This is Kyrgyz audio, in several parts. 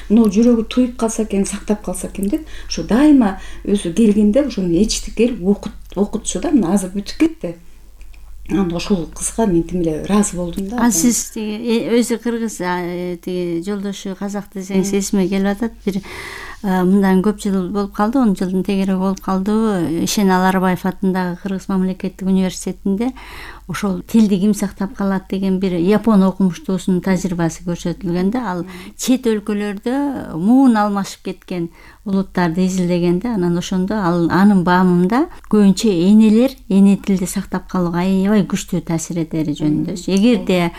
мына жүрөгү туюп калса экен, сактап калса экен деп ошо дайыма өзү келгенде ошону эчтик келип окутчу да. Мына азыр бүтүп кетти. Анда ошол кызга мен тим эле ыраазы болдум да. Ал сиз өзү кыргыз тиги жолдошу казак десеңиз эсиме келип атат. Бир мындан көп жыл болуп калды, 10 жылдын тегереги болуп калдыбы. Ишенал Арбаев атындагы Кыргыз мамлекеттик университетинде ошол тилди ким сактап калат деген бир япон окумуштуусунун тажрыйбасы көрсөтүлгөн да. Ал чет өлкөлөрдө муун алмашып кеткен улуттарды изилдегенде, анан ошондо анын баамында көбүнчө энелер эне тилди сактап калууга аябай күчтүү таасир этери жөнүндө. Эгерде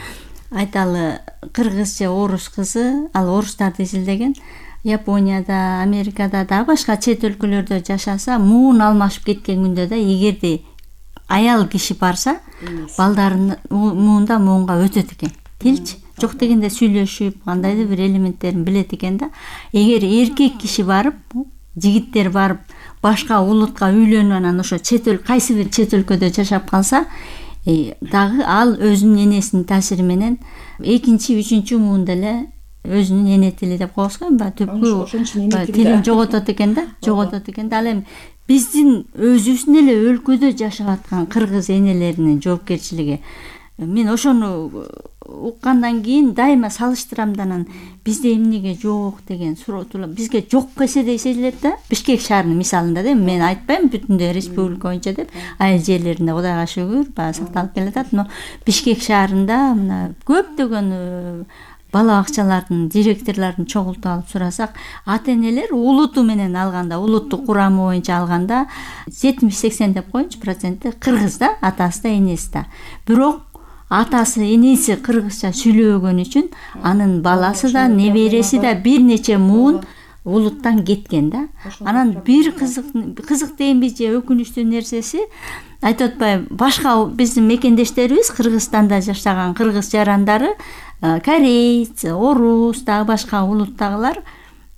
айталы кыргыз же орус кызы, ал орустарды изилдеген, Японияда, Америкада да башка чет өлкөлөрдө жашаса, муун алмашып кеткен күндө да эгерде аял киши барса, балдарын муунда муунга өтөт экен. Тилчи жок дегенде сүйлөшүп, кандайдыр бир элементтерин билет экен да. Эгер эркек киши барып, жигиттер барып, башка улутка үйлөнүп, анан ошо кайсы бир чет өлкөдө жашап калса, дагы ал өзүнүн энесинин таасири менен экинчи, үчүнчү муунда эле өзүнүн эне тили деп коебузго, түпкү тилин жоготот экен да, Ал эми биздин өзүбүздүн эле өлкөдө жашап аткан кыргыз энелеринин жоопкерчилиги. Мен ошону уккандан кийин дайыма салыштырам да, анан бизде эмнеге жок деген суроо турат. Бизге жок эседей сезилет да. Бишкек шаарынын мисалында да, мен айтпайм бүтүндөй республика боюнча деп, айыл жерлеринде Кудайга шүгүр сакталып келатат, но Бишкек шаарында мына көптөгөн бала бакчалардын директорлорун чогултуп алып сурасак, ата-энелер улуту менен алганда, улуттук курамы боюнча алганда 70-80 деп коеюнчу проценти кыргыз да, атасы да, энеси да. Бирок атасы, энеси кыргызча сүйлөбөгөн үчүн анын баласы да, небереси да бир нече муун улуттан кеткен да. Анан бир кызык дейинби же өкүнүчтүү нерсеси, айтып атпайбы, башка биздин мекендештерибиз Кыргызстанда жашаган кыргыз жарандары, корейц, орус, дагы башка улуттагылар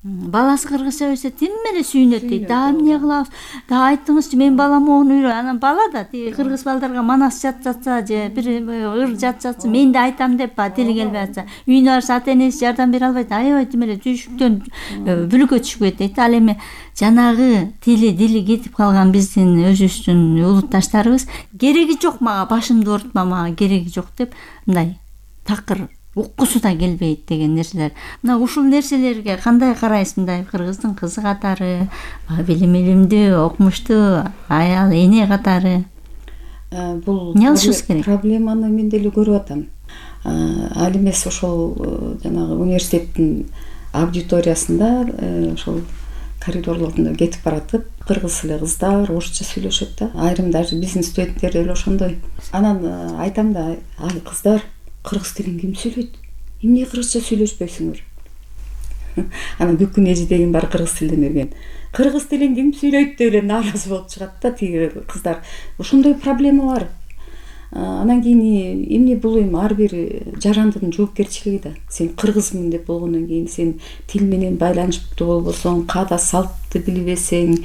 баласы кыргызча өсө тим эле сүйүнөт дейт. Да эмне кылабыз? Да айттыңызчы, мен балам ону үйрөн. Анан бала да кыргыз балдарга манас жатса же бир ыр жатса, мен да айтам деп тили келбей атса, үйүнө барса ата-энеси жардам бере албайт. Аябай тим эле түйшүктөн бүлүккө түшүп кетет. Ал эми жанагы дили кетип калган биздин өзүбүздүн улутташтарыбыз кереги жок, мага башымды оорутма, мага кереги жок деп мындай такыр уккусу да келбейт деген нерселер. Мына ушул нерселерге кандай карайсыз? Мындай кыргыздын кызы катары, билимдүү, окумуштуу аял, эне катары бул эмне кылышыбыз керек? Проблеманы мен деле көрүп атам. Ал эмес ошол жанагы университеттин аудиториясында ошол коридорлорунда кетип баратып, кыргыз эле кыздар орусча сүйлөшөт да. Айрым даже биздин студенттер деле ошондой. Анан айтам да, ай кыздар, кыргыз тилин ким сүйлөйт? Эмне кыргызча сүйлөшпөйсүңөр? Анан бүт күн эжидегин баары кыргыз тилден берген. Кыргыз тилин ким сүйлөйт деп эле нааразы болуп чыгат да тиги кыздар. Ошондой проблема бар. Анан кийин эмне бул эми ар бир жарандын жоопкерчилиги да. Сен кыргызмын деп болгондон кийин сен тил менен байланыштуу болбосоң, каада салтты билбесең,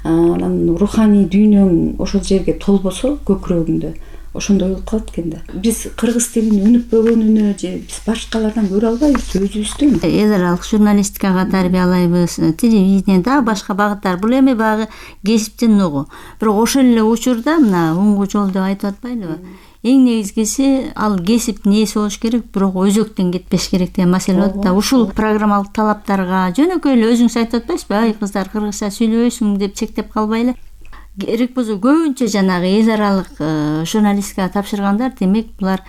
анан руханий дүйнөң ошол жерге толбосо көкүрөгүңдө, ошондой болуп калат экен да. Биз кыргыз тилин өнүкпөгөнүнө же биз башкалардан көрө албайбыз, өзүбүздөн. Эл аралык журналистикага тарбиялайбыз, телевидение да башка багыттар. Бул эми багы кесиптин нугу. Бирок ошол эле учурда мына оңгу жол деп айтып атпайлыбы? Эң негизгиси ал кесиптин ээси болуш керек, бирок өзөктөн кетпеш керек деген маселе болот да. Ушул программалык талаптарга жөнөкөй эле өзүңүз айтып атпайсызбы? Ай кыздар, кыргызча сүйлөбөйсүң деп чектеп калбай эле. Керек болсо көбүнчө жанагы эл аралык журналистикага тапшыргандар, демек булар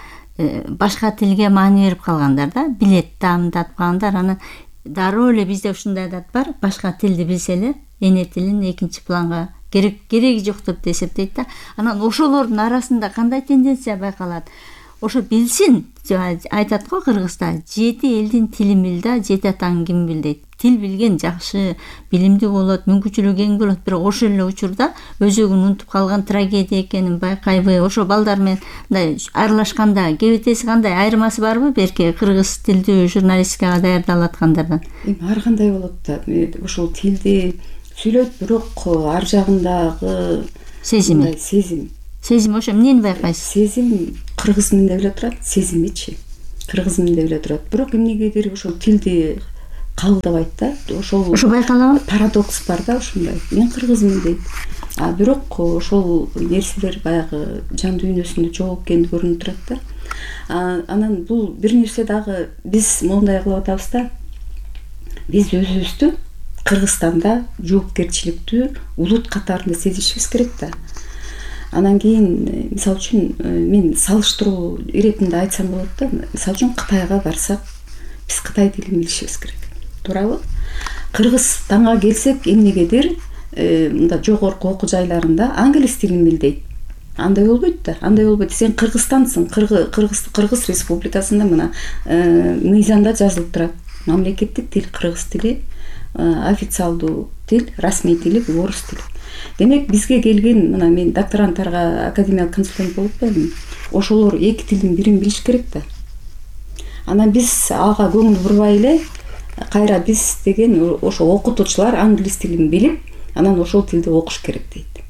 башка тилге маани берип калгандар да, билет таамдатып калгандар. Анан дароо эле бизде ушундай адат бар, башка тилди билсе эле эне тилин экинчи планга кереги жок деп эсептейт да. Анан ошолордун арасында кандай тенденция байкалат? Ошо билсин, айтат го кыргызда, 7 элдин тилин бил да, 7 атаң ким бил дейт. Тил билген жакшы, билимдүү болот, мүмкүнчүлүгү кең болот, бирок ошол эле учурда өзөгүн унутуп калган трагедия экенин байкайбы? Ошо балдар менен мындай аралашканда кебетеси кандай, айырмасы барбы берки кыргыз тилдүү журналистикага даярдалып аткандардан? Эми ар кандай болот да. Ошол тилди сүйлөйт, бирок ар жагындагы сезим ошо эмнени байкайсыз? Сезим кыргызмын деп эле турат, сезимичи кыргызмын деп эле турат. Бирок эмнегедир ошол тилди кабылдабайт да. Ошол байкалабы? Парадокс бар да ушундай. Мен кыргызмын дейт. Бирок ошол нерселер баягы жан дүйнөсүндө жок экени көрүнүп турат да. Анан бул бир нерсе дагы биз моундай кылып атабыз да. Биз өзүбүздү Кыргызстанда жоопкерчиликтүү улут катарында сезишибиз керек да. Анан кийин мисалы үчүн мен салыштыруу иретинде айтсам болот да. Мисалы үчүн Кытайга барсак, биз Кытай тилин билишибиз керек. Туурабы? Кыргызстанга келсек эмнегедир мында жогорку окуу жайларында англис тилин бил дейт. Андай болбойт да. Андай болбойт. Сен Кыргызстансың, Кыргыз Республикасында мына мыйзамда жазылып турат. Мамлекеттик тил кыргыз тили, официалдуу тил, расмий тили орус тили. Демек бизге келген мына мен докторанттарга академиялык консультант болуп атпаймынбы? Ошолор эки тилдин бирин билиш керек да. Анан биз ага көңүл бурбай эле кайра биз деген ошо окутуучулар англис тилин билип, анан ошол тилде окуш керек дейт.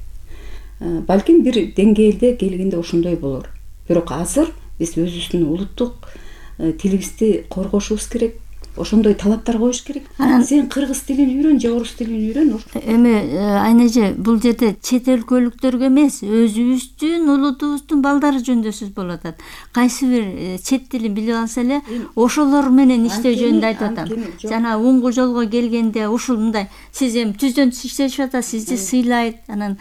Балким бир деңгээлде келгенде ошондой болор. Бирок азыр биз өзүбүздүн улуттук тилибизди коргошубуз керек. Ошондой талаптар коюш керек. Сен кыргыз тилин үйрөн же орус тилин үйрөн. Эми айнеже бул жерде чет өлкөлүктөргө эмес, өзүбүздүн улутубуздун балдары жөнүндө сөз болуп атат. Кайсы бир чет тилин билип алса эле ошолор менен иштөө жөнүндө айтып атам. Жана уңгу жолго келгенде ушул мындай сиз эми түздөн түз иштешип атасыз, сизди сыйлайт. Анан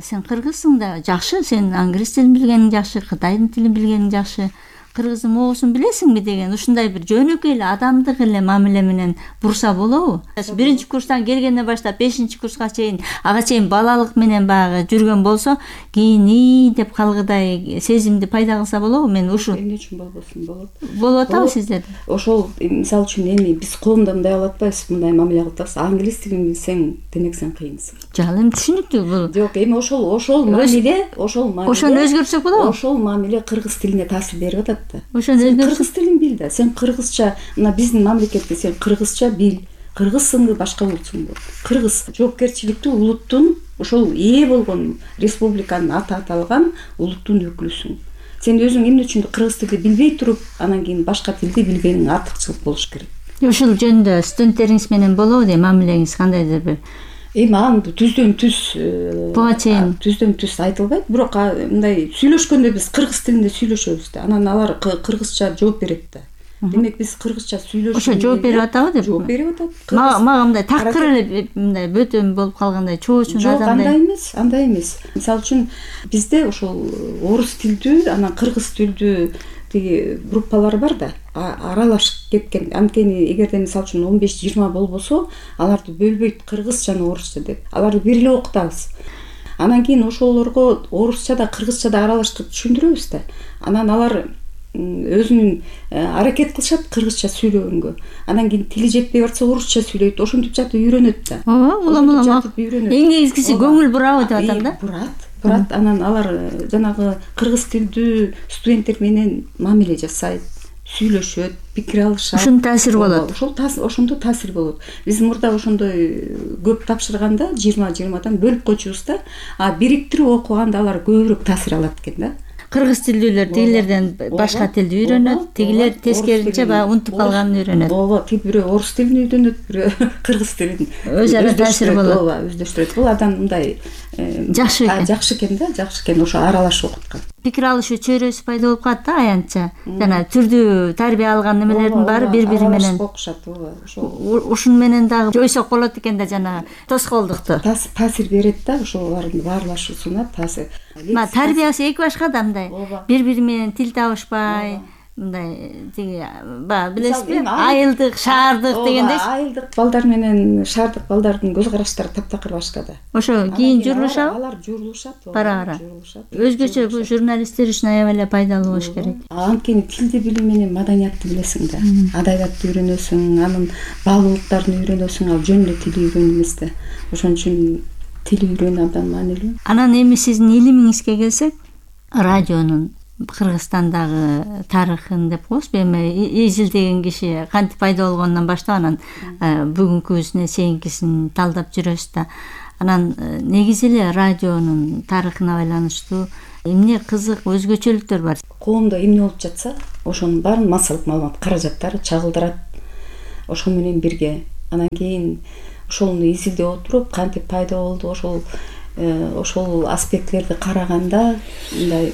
сен кыргызсың да, жакшы, сен англис тилин билгениң жакшы, кытайдын тилин билгениң жакшы. Кыргыздын моосун билесиңби деген ушундай бир жөнөкөй эле адамдык эле мамиле менен бурса болобу? Биринчи курстан келгенден баштап 5-чи курска чейин ага чейин балалык менен баягы жүргөн болсо, кийин деп калгыдай сезимди пайда кылса болобу? Мен ушул эмне үчүн болбосун? Болот. Болуп атабы сиздерде? Ошол мисалы үчүн эми биз коомдо мындай кылып атпайбыз, мындай мамиле кылып атабыз. Англис тилин билсең, демек сен кыйынсың. Жок, эми түшүнүктүү бул. Жок, эми ошол мамиле, ошону өзгөртсөк болобу? Ошол мамиле кыргыз тилине таасир берип атат да. Сен кыргыз тилин бил да. Сен кыргызча, мына биздин мамлекетте сен кыргызча бил. Кыргызсыңбы, башка улутсуңбу? Кыргыз жоопкерчиликтүү улуттун, ошол ээ болгон республиканын аты аталган улуттун өкүлүсүң. Сен өзүң эмне үчүн кыргыз тилди билбей туруп, анан кийин башка тилди билгениң артыкчылык болуш керек. Ушул жөнүндө студенттериңиз менен болобу дейм, мамилеңиз кандайдыр бир? Эми аны түздөн түз буга чейин түздөн түз айтылбайт, бирок мындай сүйлөшкөндө биз кыргыз тилинде сүйлөшөбүз да. Анан алар кыргызча жооп берет да. Демек биз кыргызча сүйлөшүп ошо жооп берип атабы деп? Жооп берип атат. Мага мындай такыр эле мындай бөтөн болуп калгандай, чоочун адамдай. Жок, андай эмес. Мисалы үчүн бизде ошол орус тилдүү, анан кыргыз тилдүү тиги группалар бар да, аралашып кеткен. Анткени эгерде мисалы үчүн 15-20 болбосо, аларды бөлбөйт кыргыз жана орусча деп. Аларды бир эле окутабыз. Анан кийин ошолорго орусча да, кыргызча да аралаштырып түшүндүрөбүз да. Анан алар өзүнүн аракет кылышат кыргызча сүйлөгөнгө. Анан кийин тили жетпей барса орусча сүйлөйт. Ошентип жатып үйрөнөт да. Улам эң негизгиси көңүл бурабы деп атам да. Бурат. Анан алар жанагы кыргыз тилдүү студенттер менен мамиле жасайт, сүйлөшөт, пикир алышат. Ушун таасир болот. Ошондо таасир болот. Биз мурда ошондой көп тапшырганда 20-20дан бөлүп койчубуз да. Бириктирип окуганда алар көбүрөөк таасир алат экен да. Кыргыз тилдүүлөр тигилерден башка тилди үйрөнөт, тигилер тескеринче баягы унутуп калганын үйрөнөт. Ооба, бирөө орус тилин үйрөнөт, бирөө кыргыз тилин. Өз ара таасир болот. Ооба, өздөштүрөт. Бул адам мындай жакшы экен да, жакшы экен ошо аралашып окуткан. Пикир алышуу чөйрөсү пайда болуп калат да аянтча. Жана түрдүү тарбия алган немелердин баары бири-бири менен окушат, ооба. Ушун менен дагы жойсок болот экен да, жана тоскоолдукту. Таасир берет да, ошолордун баарлашуусуна таасир. Тарбиясы эки башка да мындай. Бири-бири менен тил табышпай, мындай тиги баягы билесизби? Айылдык, шаардык дегендей. Айылдык балдар менен шаардык балдардын көз караштары таптакыр башка да. Ошо кийин журулушабы? Алар журулушат. Бара-бара. Өзгөчө бул журналисттер үчүн аябай эле пайдалуу болуш керек. Анткени тилди билүү менен маданиятты билесиң да. Адабиятты үйрөнөсүң, анын баалуулуктарын үйрөнөсүң, ал жөн эле тил үйрөнүү эмес да. Ошон үчүн тил үйрөнүү абдан маанилүү. Анан эми сиздин илимиңизге келсек, радионун Кыргызстандагы тарыхын деп коебузбу, эми изилдеген киши кантип пайда болгонунан баштап анан бүгүнкүсүнө чейинкисин талдап жүрөбүз да. Анан негизи эле радионун тарыхына байланыштуу эмне кызык өзгөчөлүктөр бар? Коомдо эмне болуп жатса, ошонун баарын массалык маалымат каражаттары чагылдырат. Ошол менен бирге Анан кийин ошону изилдеп отуруп кантип пайда болду, ошол аспекттерди караганда мындай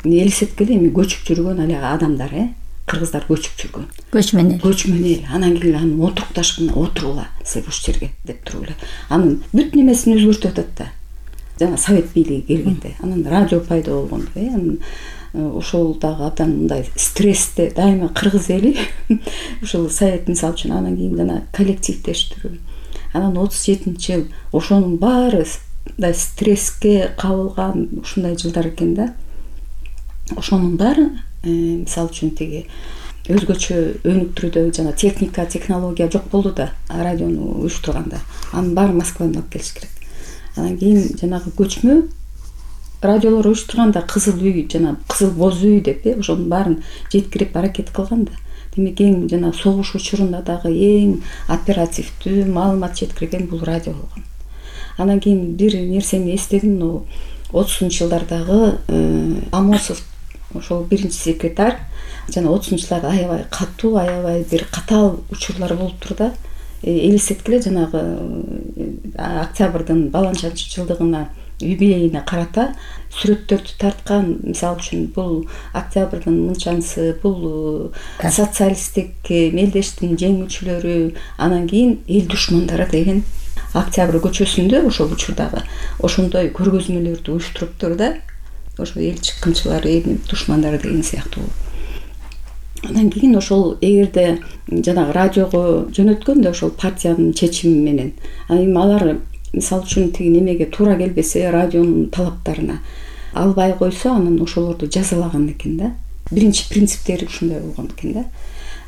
элестеткеле эми көчүп жүргөн али адамдар, кыргыздар көчүп жүргөн. Көчмөн эл. Анан кийин аны отурукташып отургула сиз ушул жерге деп туруп эле. Анын бүт немесин өзгөртүп атат да. Жана совет бийлиги келгенде, анан радио пайда болгондо, анан ошол дагы абдан мындай стрессте дайыма кыргыз эли ушул совет мисалы үчүн анан кийин жана коллективдештирүү. Анан 37-жыл ошонун баары мындай стресске кабылган ушундай жылдар экен да. Ошонун баары мисалы үчүн тиги өзгөчө өнүктүрүүдө жана технология жок болду да, радиону уюштурганда. Анын баары Москвадан алып келиш керек. Анан кийин жанагы көчмө радиолор уюштурганда кызыл үй жана кызыл боз үй деп ошонун баарын жеткирип аракет кылган да. Демек эң жана согуш учурунда дагы эң оперативдүү маалымат жеткирген бул радио болгон. Анан кийин бир нерсени эстедим, 30-жылдардагы Амосов ошол биринчи секретарь жана 30-жылдарда аябай катуу, аябай бир катаал учурлар болуптур да. Элестеткиле жанагы октябрдын баланчанчы жылдыгына юбилейине карата сүрөттөрдү тарткан. Мисалы үчүн бул октябрдын мынчанчысы, бул социалисттик мелдештин жеңүүчүлөрү, анан кийин эл душмандары деген Октябрь көчөсүндө ошол учурдагы ошондой көргөзмөлөрдү уюштуруптур да. Ошо эл чыккынчылар, эл душмандары деген сыяктуу. Анан кийин ошол эгерде жанагы радиого жөнөткөндө ошол партиянын чечими менен, эми алар мисалы үчүн тиги немеге туура келбесе, радионун талаптарына албай койсо, анан ошолорду жазалаган экен да. Биринчи принциптери ушундай болгон экен да.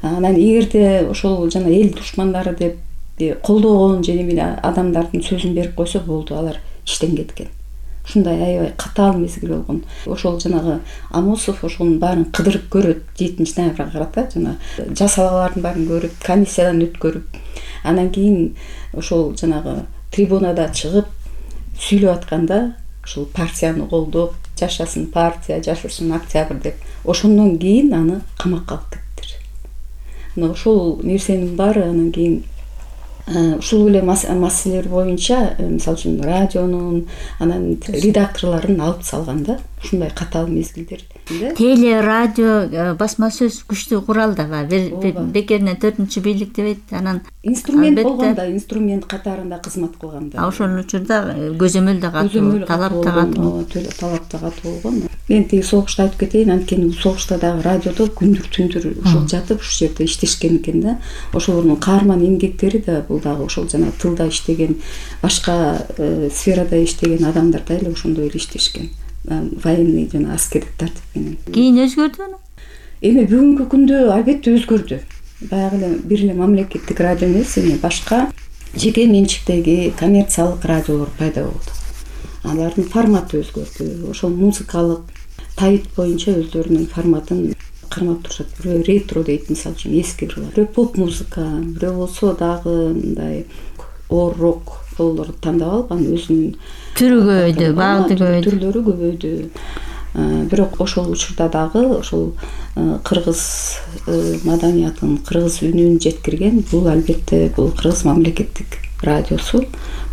Анан эгерде ошол жана эл душмандары деп колдогон же адамдардын сөзүн берип койсо болду, алар иштен кеткен. Ушундай аябай катаал мезгил болгон. Ошол жанагы Амосов ошонун баарын кыдырып көрөт 7-ноябрга карата, жана жасалгалардын баарын көрүп, комиссиядан өткөрүп, анан кийин ошол жанагы трибунада чыгып сүйлөп атканда ошол партияны колдоп, жашасын партия, жашасын Октябрь деп, ошондон кийин аны камакка алып кеттир. Мына ошол нерсенин баары анан кийин ушул эле маселелер боюнча, мисалы үчүн радионун анан редакторлорун алып салган да, ушундай катаал мезгилдер. Теле радио басма сөз күчтүү курал дагы, бекеринен 4-чү бийлик дебейт. Анан инструмент болгондо, инструмент катарында кызмат кылганда. Ошол учурда көзөмөл да катуу, талап да катуу. Талап да катуу болгон. Мен тиги согушта айтып кетейин, анткени согушта дагы радиодо күндүр-түндүр ушул жатып ушул жерде иштешкен экен да. Ошолордун каарман эмгектери да бул дагы ошол жана тылда иштеген, башка сферада иштеген адамдар да эле ошондой эле иштешкен. Военный жана аскердик тартип менен. Кийин өзгөрдүбү? Эми бүгүнкү күндө албетте өзгөрдү. Баягы эле бир эле мамлекеттик радио эмес, эми башка жеке менчиктеги коммерциялык радиолор пайда болду. Алардын форматы өзгөрдү. Ошол музыкалык тайып боюнча өздөрүнүн форматын кармап турушат. Бирөө ретро дейт, мисалы үчүн эски ырлар. Бирөө поп музыка, бирөө болсо дагы мындай рок болорду тандап алып, анын өзүнүн түрү көбөйдү, багыты көбөйдү, түрлөрү көбөйдү. Бирок ошол учурда дагы ошол кыргыз маданиятын, кыргыз үнүн жеткирген бул албетте бул кыргыз мамлекеттик радиосу.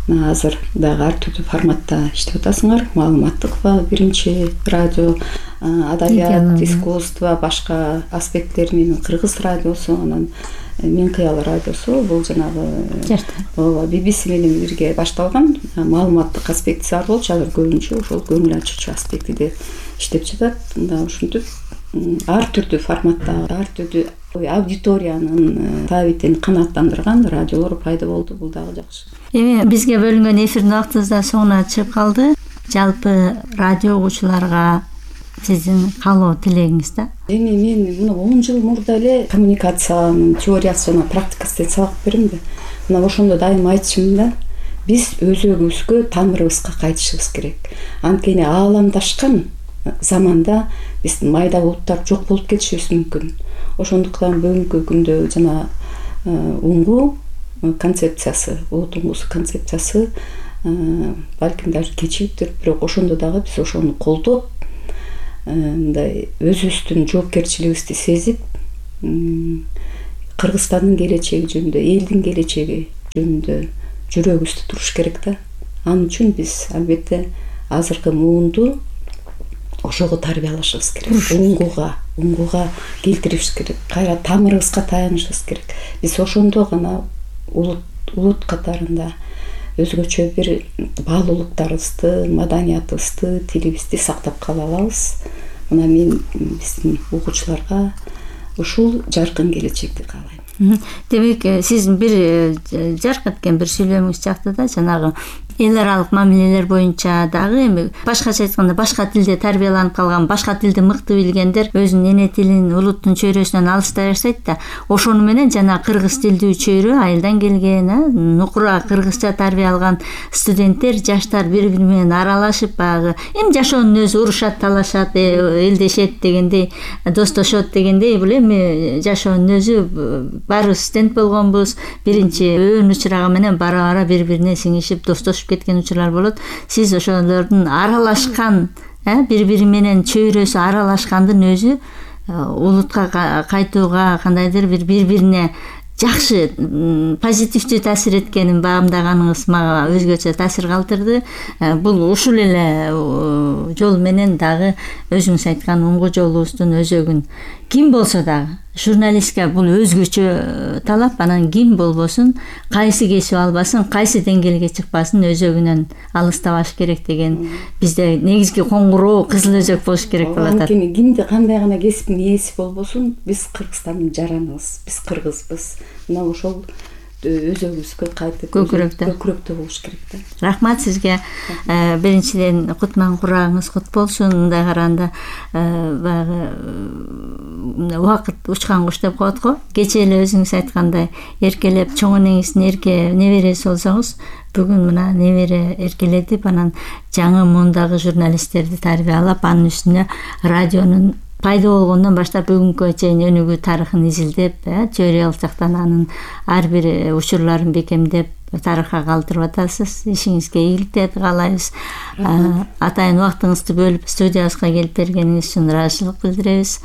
Азыр дагы ар түрдүү форматта иштеп атасыңар. Маалыматтыкпы биринчи радио, адабият, искусство, башка аспекттер менен кыргыз радиосу, анан Мен кыял радиосу бул жанагы BBC менен бирге башталган маалыматтык аспектиси бар болчу. Азыр көбүнчө ошол көңүл ачуучу аспектиде иштеп жатат. Мында ушинтип ар түрдүү форматта, ар түрдүү аудиториянын таабитин канааттандырган радиолор пайда болду. Бул дагы жакшы. Эми бизге бөлүнгөн эфирдин убактыбыз да соңуна чыгып калды. Жалпы радио угуучуларга сиздин каалоо тилегиңиз да? Эми мен мына 10 жыл мурда эле коммуникациянын теориясы жана практикасы деп сабак берем да. Мына ошондо дайыма айтышым да, биз өзөгүбүзгө, тамырыбызга кайтышыбыз керек. Анткени ааламдашкан заманда биздин майда булуттар жок болуп кетишибиз мүмкүн. Ошондуктан бүгүнкү күндө жана уңгу концепциясы, улут уңгусу концепциясы балким даже кечиптир, бирок ошондо дагы биз ошону колдоп, мындай өзүбүздүн жоопкерчилигибизди сезип, Кыргызстандын келечеги жөнүндө, элдин келечеги жөнүндө жүрөгүбүздө туруш керек да. Ал үчүн биз албетте азыркы муунду ошого тарбиялашыбыз керек. Уңгуга келтиришибиз керек. Кайра тамырыбызга таянышыбыз керек. Биз ошондо гана улут катарында өзгөчө бир баалуулуктарыбызды, маданиятыбызды, тилибизди сактап кала алабыз. Мына мен биздин угуучуларга ушул жаркын келечекти каалайм. Демек, сиздин бир жарк эткен бир сүйлөмүңүз чыкты да, жанагы эл аралык мамилелер боюнча дагы эми башкача айтканда башка тилде тарбияланып калган, башка тилди мыкты билгендер өзүнүн эне тилин, улуттун чөйрөсүнөн алыстай баштайт да. Ошону менен жана кыргыз тилдүү чөйрө, айылдан келген, нукура кыргызча тарбия алган студенттер, жаштар бири-бири менен аралашып, баягы эми жашоонун өзү урушат, талашат, элдешет дегендей, достошот дегендей, бул эми жашоонун өзү баарыбыз студент болгонбуз. Биринчи өөн учураган менен бара-бара бири-бирине сиңишип, достошуп кеткен учурлар болот. Сиз ошолордун аралашкан, бири-бири менен чөйрөсү аралашкандын өзү улутка кайтууга кандайдыр бир бири-бирине жакшы, позитивдүү таасир эткенин баамдаганыңыз мага өзгөчө таасир калтырды. Бул ушул эле жол менен дагы өзүңүз айткан уңгу жолубуздун өзөгүн ким болсо дагы, журналистке бул өзгөчө талап, анан ким болбосун, кайсы кесип албасын, кайсы деңгээлге чыкпасын, өзөгүнөн алыстабаш керек деген бизде негизги коңгуроо кызыл өзөк болуш керек болуп атат. Анткени кимди кандай гана кесиптин ээси болбосун, биз Кыргызстандын жараныбыз, биз кыргызбыз. Мына ошол өзөгүбүзгө кайтып көкүрөктө болуш керек да. Рахмат сизге. Биринчиден кутман курагыңыз кут болсун. Мындай караганда баягы убакыт учкан куш деп коет го. Кечээ эле өзүңүз айткандай эркелеп чоң энеңиздин эрке небереси болсоңуз, бүгүн мына небере эркелетип, анан жаңы муундагы журналисттерди тарбиялап, анын үстүнө радионун пайда болгондон баштап бүгүнкү чейин өнүгүү тарыхын изилдеп, теориялык жактан анын ар бир учурларын бекемдеп тарыхка калтырып атасыз. Ишиңизге ийгиликтерди каалайбыз. Атайын убактыңызды бөлүп студиябызга келип бергениңиз үчүн ыраазычылык билдиребиз.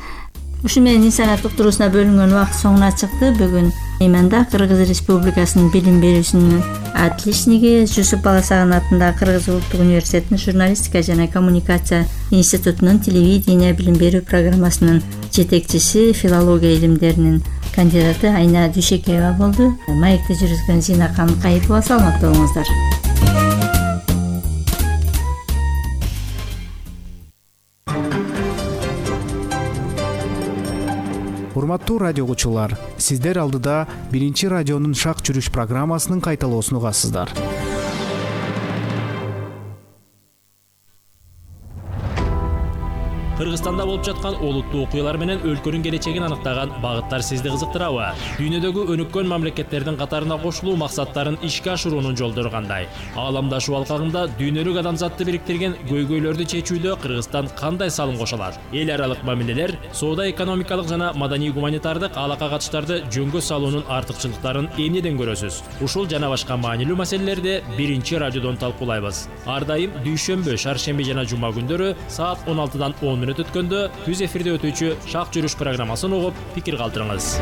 Ушу менен инсаният уктуруусуна бөлүнгөн убакыт соңуна чыкты. Бүгүн Мейманда Кыргыз Республикасынын билим берүүсүнүн отличниги, Жусуп Баласаган атындагы Кыргыз улуттук университетинин журналистика жана коммуникация институтунун телевидение билим берүү программасынын жетекчиси, филология илимдеринин кандидаты Айна Дүйшекеева болду. Маекти жүргүзгөн Зинакан Кайыпова. Саламатта болуңуздар. Урматтуу радио угуучулар, сиздер алдыда биринчи радионун шак жүрүш программасынын кайталоосун угасыздар. Кыргызстанда болуп жаткан олуттуу окуялар менен өлкөнүн келечегин аныктаган багыттар сизди кызыктырабы? Дүйнөдөгү өнүккөн мамлекеттердин катарына кошулуу максаттарын ишке ашыруунун жолдору кандай? Ааламдашуу алкагында дүйнөлүк адамзатты бириктирген көйгөйлөрдү чечүүдө Кыргызстан кандай салым кошо алат? Эл аралык мамилелер, соода экономикалык жана маданий гуманитардык алака катыштарды жөнгө салуунун артыкчылыктарын эмнеден көрөсүз? Ушул жана башка маанилүү маселелерди биринчи радиодон талкуулайбыз. Ар дайым дүйшөмбү, шаршемби жана жума күндөрү саат 16-дан 10 мүнөт өткөндө түз эфирде өтүүчү Шак жүрүш программасын угуп, пикир калтырыңыз.